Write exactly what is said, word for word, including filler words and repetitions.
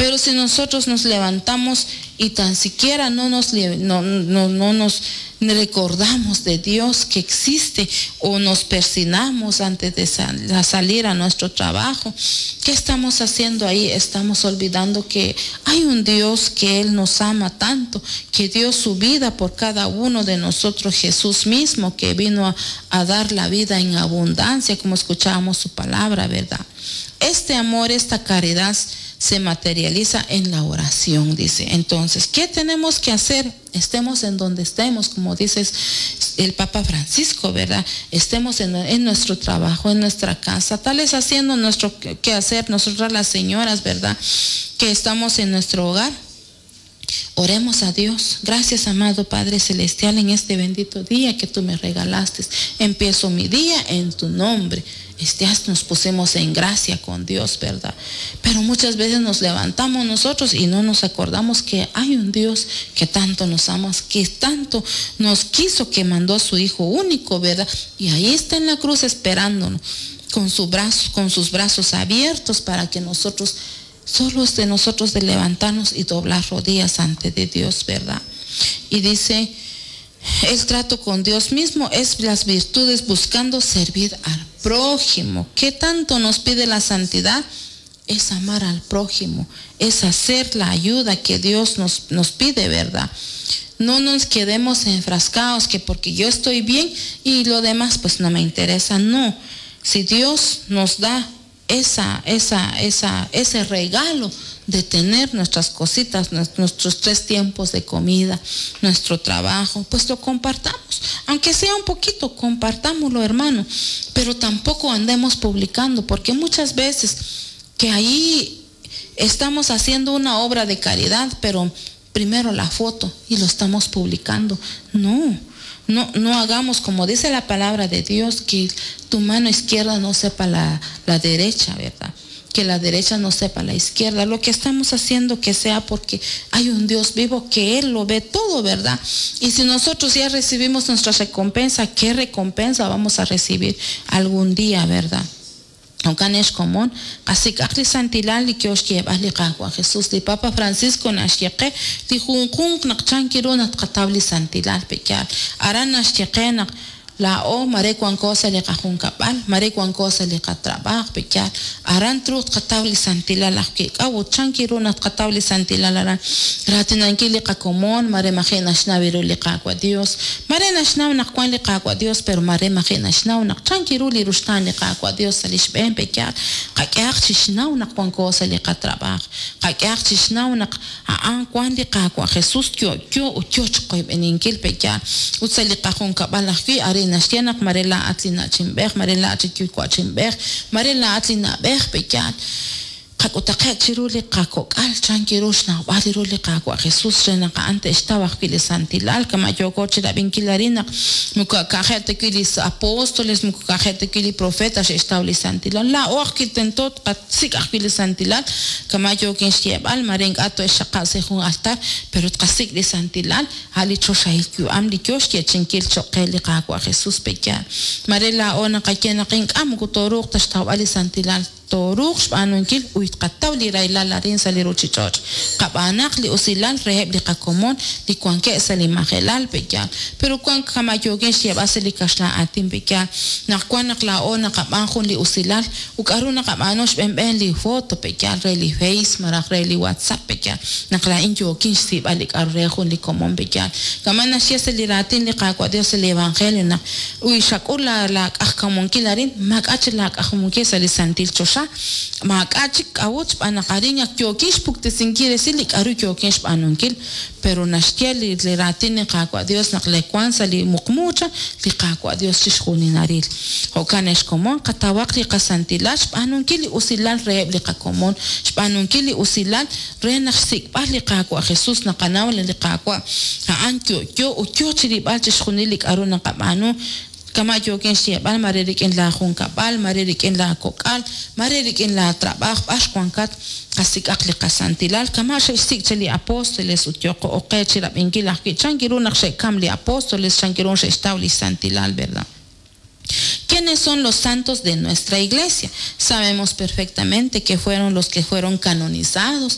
Pero si nosotros nos levantamos y tan siquiera no nos, no, no, no nos recordamos de Dios que existe o nos persinamos antes de sal, salir a nuestro trabajo, ¿qué estamos haciendo ahí? Estamos olvidando que hay un Dios que Él nos ama tanto, que dio su vida por cada uno de nosotros, Jesús mismo, que vino a, a dar la vida en abundancia, como escuchábamos su palabra, ¿verdad? Este amor, esta caridad se materializa en la oración, dice. Entonces, ¿qué tenemos que hacer? Estemos en donde estemos, como dice el Papa Francisco, ¿verdad? Estemos en, en nuestro trabajo, en nuestra casa, tal vez haciendo nuestro quehacer, nosotras las señoras, ¿verdad? Que estamos en nuestro hogar. Oremos a Dios. Gracias, amado Padre Celestial, en este bendito día que tú me regalaste. Empiezo mi día en tu nombre. Este, nos pusimos en gracia con Dios, ¿verdad? Pero muchas veces nos levantamos nosotros y no nos acordamos que hay un Dios que tanto nos ama, que tanto nos quiso, que mandó a su Hijo único, ¿verdad? Y ahí está en la cruz esperándonos con, su brazo, con sus brazos abiertos para que nosotros, solo es de nosotros de levantarnos y doblar rodillas ante de Dios, ¿verdad? Y dice, el trato con Dios mismo es las virtudes buscando servir al prójimo. ¿Qué tanto nos pide la santidad? Es amar al prójimo, es hacer la ayuda que Dios nos, nos pide, ¿verdad? No nos quedemos enfrascados que porque yo estoy bien y lo demás pues no me interesa. No, si Dios nos da esa, esa, esa, ese regalo de tener nuestras cositas, nuestros tres tiempos de comida, nuestro trabajo, pues lo compartamos. Aunque sea un poquito, compartámoslo, hermano. Pero tampoco andemos publicando, porque muchas veces que ahí estamos haciendo una obra de caridad, pero primero la foto y lo estamos publicando. No, no, no hagamos como dice la palabra de Dios, que tu mano izquierda no sepa la, la derecha, ¿verdad? Que la derecha no sepa la izquierda. Lo que estamos haciendo que sea porque hay un Dios vivo que Él lo ve todo, ¿verdad? Y si nosotros ya recibimos nuestra recompensa, ¿qué recompensa vamos a recibir algún día, verdad? Jo'kan ex komon, qasik'aq li santilal li yo xyeeb'al li Qaawa' Jesús, li Papa Francisco naxye qe li junjunq naq chan kiru naq tqataw li santilal pe'yaal. Aran naxye qe naq laa'o mare wanko sa' li qajunkab'al, mare wanko sa' li qatrabaaj pe'yaal. Aran truuq tqataw li santilal ajwi'. K'a'ut chan kiru naq tqataw li santilal aran? Raatinankil li qakomon, mare maji' naxnaw ru li Qaawa' Dios. Mare naxnaw naq wan li Qaawa' Dios, pero mare maji' naxnaw naq chan kiru li ruxtaan li Qaawa' Dios sa' li xb'een pe'yaal. Qak'ehaq chixnaw naq wanko sa' li qatrabaaj. Qak'ehaq chixnaw naq a'an wan li Qaawa' Jesús yo'yo ut yo chiqoyb'eninkil pe'yaal. Ut sa' li qajunkab'al ajwi' arin naxye naq mare laa'at li na'chinb'ej, mare laa'at li yuwa'chinb'ej, mare laa'at li na'b'ej pe'yaal. Qak'utaqe' chiru li qakok'al chan kiru xnawb'al ru li Qaawa' Jesús re naq a'an te'xtaw ajwi' li santilal kama yooko chirab'inkil arin naq moko ka'je' ta wi' li apóstoles, moko ka'je' ta wi' li profeta xe'xtaw li santilal. Laa'o ajwi' tento tqasik' ajwi' li santilal kama yookin xyeeb'al mare ink'a' to'exxaqab' sa' jun altar, pero tqasik' li santilal a' li choxahil yu'am li yo xyeechinkil cho'q qe li Qaawa' Jesús pe'yaal. Mare laa'o naqaye naq ink'a' moko tooruuq ta xtawb'al li santilal, tooruuq xb'aanunkil ut tqataw li rahilal arin sa' li ruchich'och'. Qab'aanaq li usilal reheb' li qakomon li wankeb' sa' li majelal pe'yaal. Pero wan kama yookin xyeeb'al sa' li kaxlan aatin pe'yaal, naq wan naq laa'o naqab'aan jun li usilal ut k'a'ru naqab'aanu xb'enb'en li foto pe'yaal re li Face malaj re li WhatsApp pe'yaal, naq laa'in yookin xsiib'al li k'a'ru re jun li komon pe'yaal. Kama naxye sa' li raatin li Qaawa' Dios sa' li Evangelio naq uy xak'ul la la k'ajkamunkil arin, maak'a' chik la k'ajkamunkil sa' li santil choxa, maak'a' chik k'a'ut xb'aan naq arin ak yookin xpuktesinkil resil li k'a'ru yookin xb'aanunkil. Pero naxye li, li raatin li Qaawa' Dios naq le wan sa' li muqmuucha li Qaawa' Dios chixjuninaril. Jo'kan ex komon, qatawaq li qasantilal xb'aanunkil li usilal reheb' li qakomon, xb'aanunkil li usilal re naq xsik'b'al li Qaawa' Jesús naqanaw li Qaawa' a'an yo'yo ut yo chirib'al chixjunil li k'a'ru naqab'aanu. Kama yookin xyeeb'al mare rik'in la junkab'al, mare rik'in la kok'al, mare rik'in la trabaaj, b'ar wankat qasik'aq li qasantilal. Kama xe'xsik' che li apóstoles ut yoqo oqe chirab'inkil ajwi' chan kiru naq xe'kam li apóstoles, chan kiru xe'xtaw li santilal, ¿verdad? ¿Quiénes son los santos de nuestra iglesia? Sabemos perfectamente que fueron los que fueron canonizados.